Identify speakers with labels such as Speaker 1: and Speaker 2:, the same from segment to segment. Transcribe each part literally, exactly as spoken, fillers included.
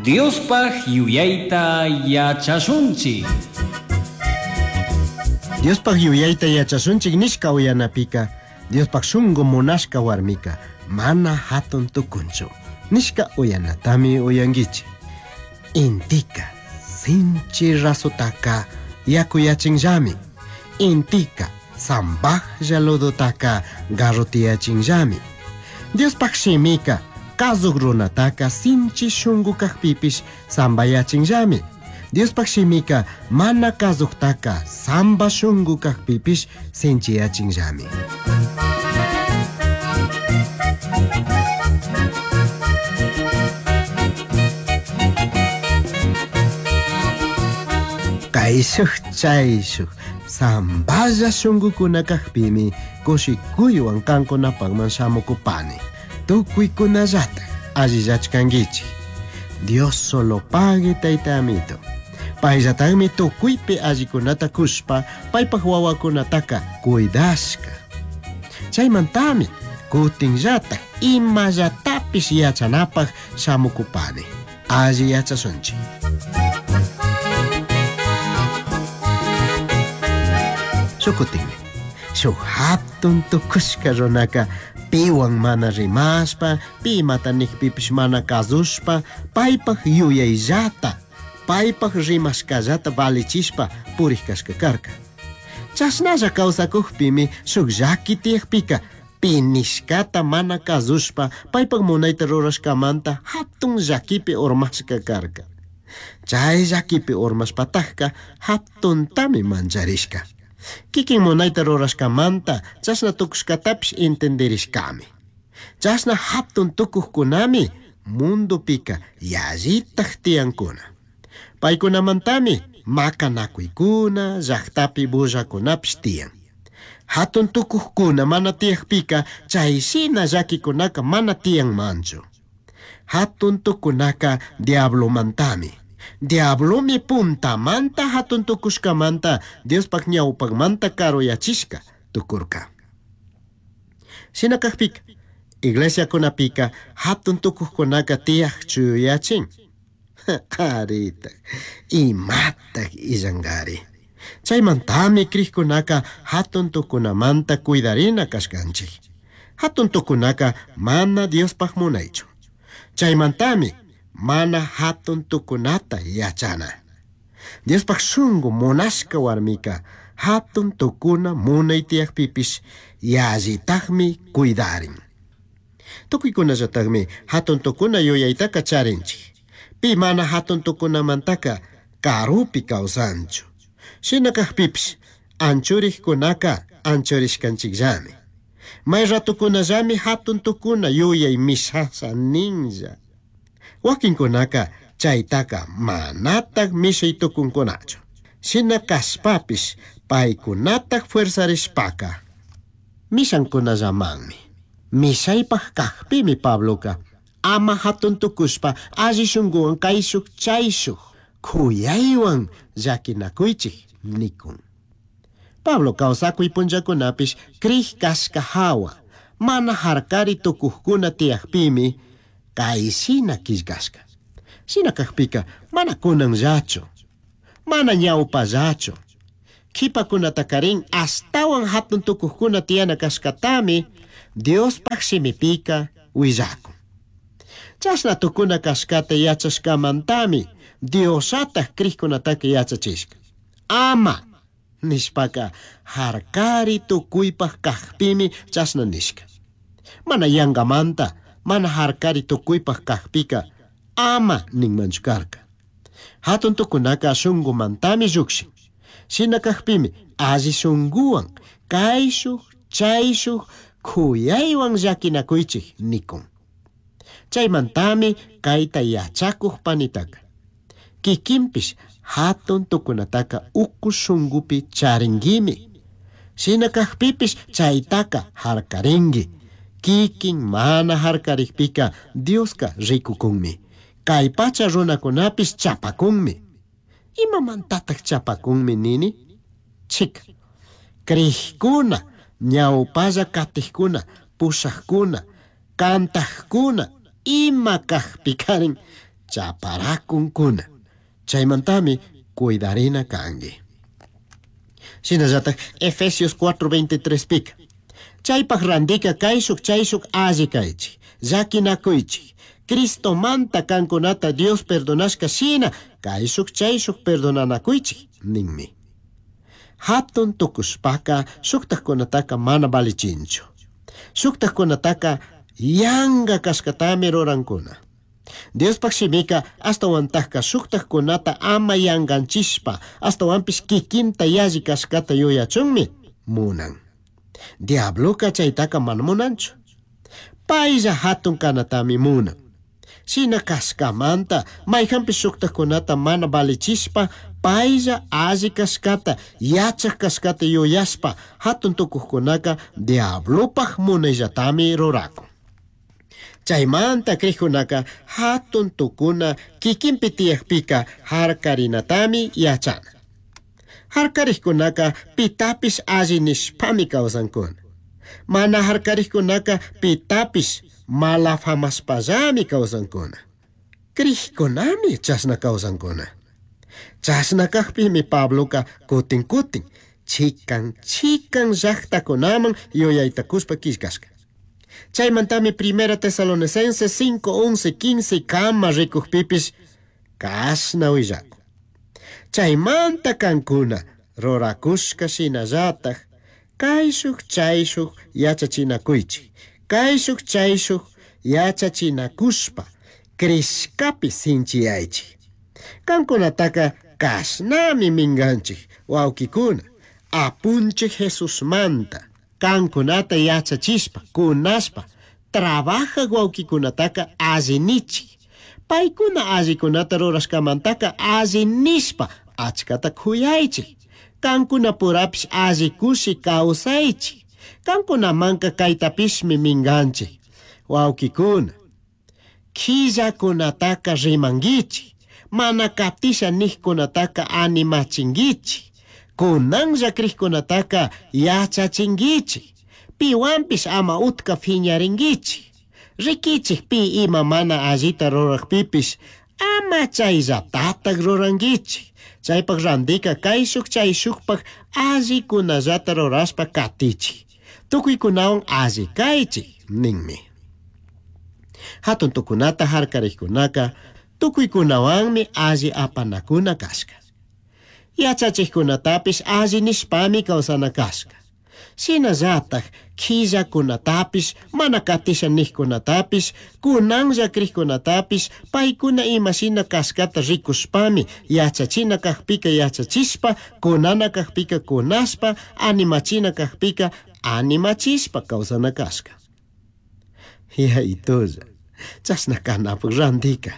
Speaker 1: Diospaj yuyayta yachashunchik.
Speaker 2: Diospaj yuyayta yachashunchik nishka uyanapika, Diospaj shungu munashka warmika mana hatun tukunchu nishka uyanatami uyankichik. Intika sinchi rasutaka yakuyachinllami. Intika zambajlla ludutaka garrutiyachinllami. Diospaj shimika kazuk runataka sinchi shungu kajpipish zambayachinllami. Diospaj shimika mana kazuktaka zamba shungu kajpipish sinchiyachinllami. Kayshuj chayshuj zamballa shungukuna kajpimi kushikuywan kankunapakman shamukupani. Tukuykunallataj allillachkankichik. Dios solo pague tayta amito. Payllatajmi tukuypi allikunata kushpa paypaj wawakunataka cuidashka. Chaymantami kutinllataj imallatapish yachanapaj shamukupani. Alli yachashunchik. Shukutinmi shuk hatun tukushka runaka piwan mana rimashpa, pi imata nikpipish mana kazushpa, paypaj yuyayllata, paypaj rimashkallata valichishpa purij kashka karka. Chashnalla kawsakukpimi shuk llaki tiyakpika pi nishkata mana kazushpa paypaj munayta rurashkamanta hatun llakipi urmashka karka. Chay llakipi urmashpatajka hatuntami mancharishka. Kikin munayta rurashkamanta chashna tukushkatapish entenderishkami. Chashna hatun tukuqkunami mundupika yallitaj tiyankuna. Paykunamantami makanakuykuna, llaqtapi bullakunapish tiyan. Hatun tukuqkuna mana tiyakpika chayshina llakikunaka mana tiyanmanchu. Hatun tukunaka diablomantami. Diablomi puntamanta hatun tukushkamanta Diospaj ñawpakmanta karuyachishka tukurka. Shina kajpika iglesiakunapika hatun tukuqkunaka tiyaq chuyachin. Aritaj, imataj illankari. Chaymantami krikkunaka hatun tukunamanta cuidarina kashkanchik. Hatun tukunaka mana Diospaj munaychu. Chaymantami mana hatun tukunata yachana. Diospaj shungu munashka warmika hatun tukuna munay tiyakpipish yallitajmi cuidarin. Tukuykunallatajmi hatun tukuna yuyaytaka charinchik. Pi mana hatun tukunamantaka karupi kawsanchu. Shina kajpipish anchurikkunaka anchurishkanchikllami. May ratukunallami hatun tukuna yuyay mishasha ninlla. Wakinkunaka chaytaka manataj mishay tukunkunachu. Shina kashpapish paykunataj fuerzarishpaka mishankunallamanmi. Mishaypaj kajpimi Pabloka ama hatun tukushpa alli shunguwan kayshuk chayshuk kuyaywan llakinakuychik nikun. Pablo kawsakuy punllakunapish krij kashka hawa mana harkari tukuqkuna tiyakpimi kayshina killkashka. Shina kajpika mana kunanllachu, mana ñawpallachu. Qhipakunatakarin ashtawan hatun tukuqkuna tiyana kashkatami Diospaj shimipika willakun. Chashna tukuna kashkata yachashkamantami Diosataj krikkunataka yachachishka. Ama nishpaka harkari tukuypaj kajpimi chashna nishka. Mana yangamanta mana harkari tukuypaj kajpika ama ninmanchu karka. Hatun tukunaka shungumantami llukshin. Shina kajpimi alli shunguwan kayshuj chayshuj kuyaywan llakinakuychik nikun. Chaymantami kayta yachakuj panitaka. Kikinpish hatun tukunataka uku shungupi charinkimi. Shina kajpipish chaytaka harkarinki. Kikin mana harkarikpika Dioska rikukunmi. Kay pacha runakunapish chapakunmi. Imamantataq chapakunmi nini? Chika. Krikuna, ñawpalla katiqkuna, pushaqkuna, kantaqkuna, ima kajpikarin Chaparakunkuna. Chaymantami cuidarina kanki. Shinallatak Efesios cuatro veintitrés pika. Chaypaj randika kayshuk chayshuk alli kaychik, llakinakuychik. Cristo manta kankunata Dios perdonashka shina kayshuk chayshuk perdonanakuychik ninmi. Hatun tukushpaka shuktajkunataka mana valichinchu. Shuktajkunataka yanga kashkatami rurankuna. Diospaj shimika ashtawantajka shuktajkunata ama yanganchishpa ashtawanpish kikinta yalli kashkata yuyachunmi munan. Diabloka chaytaka mana munanchu. Paylla hatun kanatami munan. Shina kashkamanta mayjanpish shuktajkunata mana valichishpa paylla alli kashkata yachaj kashkata yuyashpa hatun tukuqkunaka diablopaj munayllatami rurakun. Chaymanta krijkunaka hatun tukuna kikinpi tiyakpika harkarinatami yachana. Harkarijkunaka pitapish alli nishpami kawsankuna. Mana harkarijkunaka pitapish malafamashpallami kawsankuna. Krijkunami chashna kawsankuna. Chashna kajpimi Pabloka kutin kutin chikan chikan llaqtakunaman yuyaytakushpa killkashka. Chaymantami Primera Tesalonicenses cinco, once, quince kama rikujpipish kashna willakun. Chaymanta kankuna rurakushka shinallataj kayshuk chayshuk yachachinakuychik. Kayshuk chayshuk yachachinakushpa krishkapi sinchiyaychik. Kankunataka kashnami minganchik wawkikuna apunchik Jesusmanta. Kankunata yachachishpa, kunashpa, trabajaq wawkikunataka allinichik. Paykuna allikunata rurashkamantaka allinishpa achkata kuyaychik. Kankunapurapish alli kushi kawsaychik. Kankunamanka kaytapishmi minganchik. Wawkikuna, killakunataka rimankichik. Mana katisha niqkunataka animachinkichik. Kunanlla krijkunataka yachachinkichik. Piwanpish ama utka phiñarinkichik. Rikichik pi ima mana allita rurajpipish ama chayllatataj rurankichik. Chaypaj randika kayshuk chayshukpaj allikunallata rurashpa katichik. Tukuykunawan alli kaychik ninmi. Hatun tukunata harkarijkunaka tukuykunawanmi alli apanakuna kashka. Yachachikkunatapish alli nishpami kawsana kashka. Shinallataj killakunatapish mana katisha niqkunatapish kunanlla krijkunatapish paykuna imashina kashkata rikushpami yachachina kajpika yachachishpa kunana kajpika kunashpa animachina kajpika animachishpa kawsana kashka. Yaytulla chashna kanapaj randika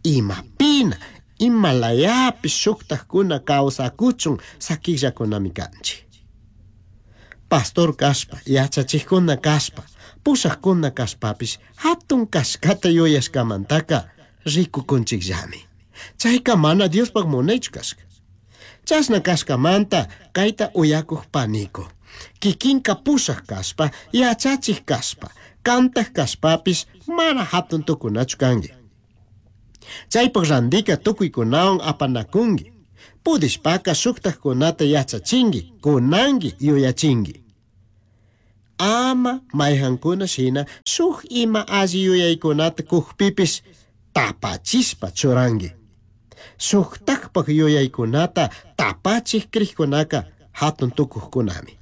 Speaker 2: imapina imalayapish shuktajkuna kawsakuchun sakillakunami kanchik. Pastor kashpa, yachachikuna kashpa, pushaqkuna kashpapish hatun kashkata yuyashkamantaka rikukunchikllami. Chayka mana Diospaj munaychu kashka. Chashna kashkamanta kayta uyakuq paniko. Kikinka pushaq kashpa, yachachik kashpa, kantaq kashpapish mana hatun tukunachu kanki. Chaypaj randika tukuykunawan apanakunki. Pudishpaka shuktajkunata yachachinki, kunanki, yuyachinki. Ama mayhankuna shina shuk ima alli yuyaykunata kujpipish tapachishpa churanki. Shuktajpaj yuyaykunata tapachik krijkunaka hatun tukuqkunami.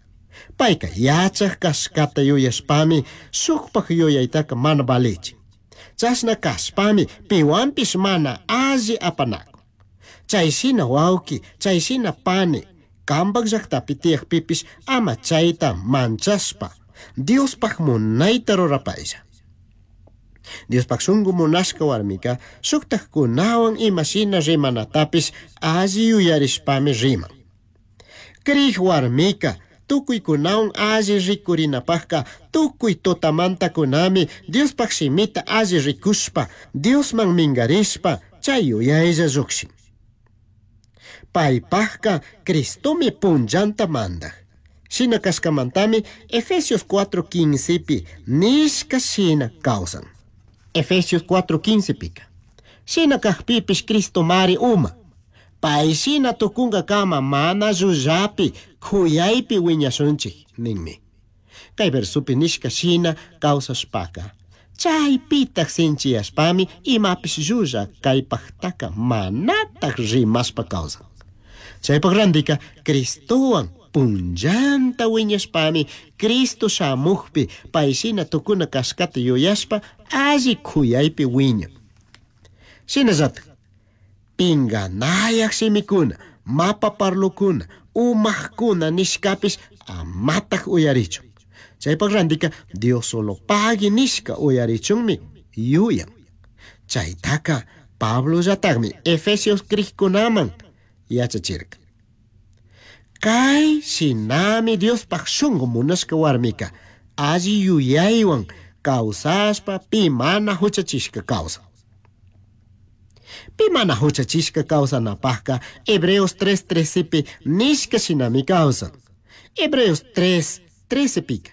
Speaker 2: Payka yachaj kashkata yuyashpami shukpaj yuyaytaka mana valichin. Chashna kashpami piwanpish mana alli apanakun. Chayshina wawki, chayshina pani, kambaj llaqtapi tiyaqpipish ama chayta manchashpa Diospaj munayta rurapaylla. Diospaj shunku munashka warmika shuktajkunawan imashina rimanatapish alli yuyarishpami riman. Krij warmika tukuykunawan alli rikurinapajka tukuy tutamantakunami Diospaj shimita alli rikushpa Diosman minkarishpa chay yuyaylla llukshin. Paypajka Cristomi punllanta mandaj. Shina kashkamantami Efesios cuatro quince pi nishka shina kawsan. Efesios cuatro quince pika. Shina kajpipish Cristomari uma. Pay shina tukunkakama mana llullapi kuyaypi wiñashunchik ninmi. Kay versupi nishka shina kawsashpaka chaypitaq sinchiyashpami imapish llulla kaypaqtaka manataq rimashpa kawsan. Chaypaq randika Cristowan punllanta wiñashpami Cristo shamuqpi pay shina tukuna kashkata yuyashpa alli kuyaypi wiñan. Shinallatak pinganayaq shimikuna, mapa parlukuna, umaqkuna nishkapish amataq uyarichun. Chaypaq randika Dios solo pagui nishka uyarichunmi yuyan. Chaytaka Pablollataqmi Efesios krikkunaman yachachirka. Kay shinami Diospaq shunqu munashka warmika alli yuyaywan kawsashpa pi mana huchachishka kawsan. Pi mana huchachishka kawsanapaqka Hebreos tres trecepi nishka shinami kawsan. Hebreos tres trecepika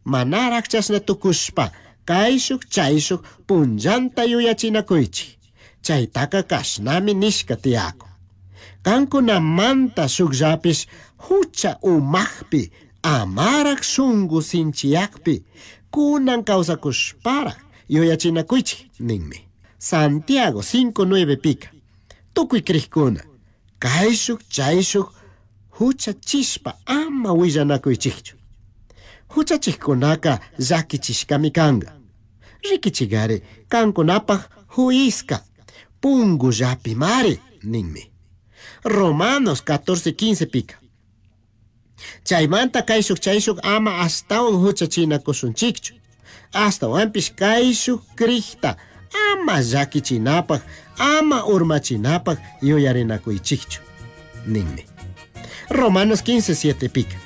Speaker 2: manaraq chashna tukushpa kayshuk chayshuk punllanta yuyachinakuychik. Chaytaka kashnami nishka tiyakun. Kankunamanta shukllapish hucha umaqpi amaraq shunqu sinchiyaqpi kunan kawsakushparaq yuyachinakuychik ninmi. Santiago cinco nueve pika tukuy krikuna kayshuk chayshuk huchachishpa ama willanakuychikchu. Huchachikkunaka llakichishkami kanka. Rikichigari kankunapaq huiska pungullapimari ninmi. Romanos catorce quince pika chaymanta kayshuk chayshuk ama ashtawan huchachinakushunchikchu. Ashtawanpish kayshuk krikta ama llakichinapaq ama urmachinapaq yuyarinakuychikchu ninmi. Romanos quince siete pika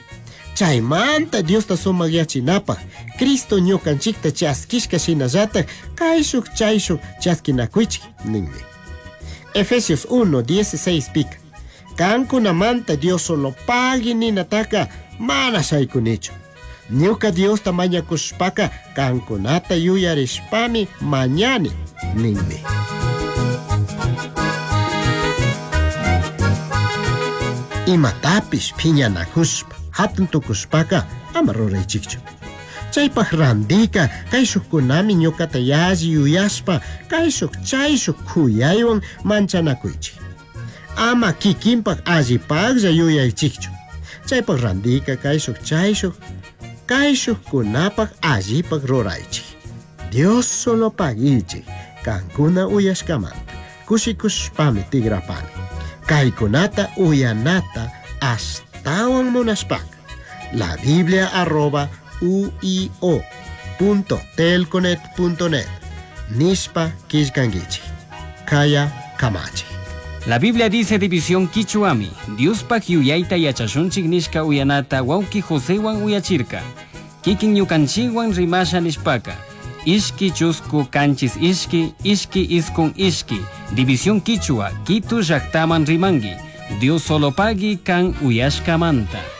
Speaker 2: chaymanta Diosta sumakyachinapaq Cristo ñukanchikta chaskishka shinallatak kayshuk chayshuk chaskinakuychik ninmi. Efesios uno dieciséis pika kankunamanta Dios solo pagui ninataka mana shaykunichu. Ñuka Diosta mañakushpaka kankunata yuyarishpami mañani ninmi. Imatapish phiñanakushpa hatun tukushpaka ama ruraychikchu. Chaypaq randika kayshukkunami ñukata yalli yuyashpa kayshuk chayshuk kuyaywan manchanakuychik. Ama kikinpaq allipaqlla yuyaychikchu. Chaypaq randika kayshuk chayshuk kayshukkunapaq allipaq ruraychik. Dios solo paguichik kankuna uyashkamanta kushikushpami tigrapani. Kaykunata uyanata ashtawan munashpaka la biblia arroba uio punto telconet punto net nishpa killkankichik. Kaya kamachi.
Speaker 1: La Biblia dice división Quichuami, Diospaq yuyayta yachashunchik nishka uyanata wawki Josewan uyachirka. Kikin ñukanchikwan rimasha nishpaka. Ishki chusku kanchis ishki, ishki iskun ishki. División Quichua, Quito llaktaman rimangi. Dios solo pagui kan uyashkamanta.